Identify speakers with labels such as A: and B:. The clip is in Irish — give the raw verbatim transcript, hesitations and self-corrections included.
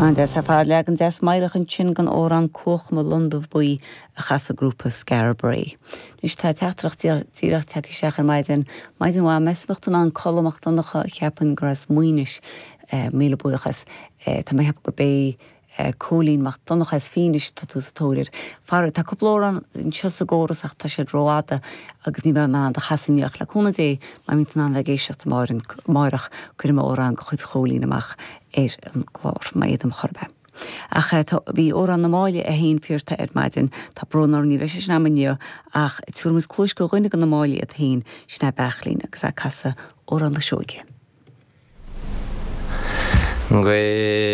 A: An-deas ar fad leagan deas meidhreach ansin den amhrán Cuach mo Londubh Buí a chas an grúpa Skara Brae. Anois tá teachtaireacht díreach tagtha isteach ar maidin, maidin mhaith measmacht an an Colmach Donnacha cheapann gur as Maínis míle buíochas Tá mé ag ceapadh gurb é Cóilín Mac Donncha as Fínis tá tú sa tóir air. Faraor tá cúpla amhrán anseo sa gcóras ach tá siad rófhada agus ní bheidh mé in ann iad a chasadh inniu le cúnamh Dé má bhíonn tú in ann bheith ag éisteacht amárach cuirfidh mé amhrán de chuid Chóilín amach ar an gclár má fhéadaim chor ar bith. Ach bhí amhrán na Máille a haon fiarta ar maidin Tá brón orm ní bheidh sé sin agam inniu ach tabharfaidh muid cluas do dhuine de na Máillí iad féin sin é Beairtlín agus é ag casadh amhrán na Sióige.
B: Gael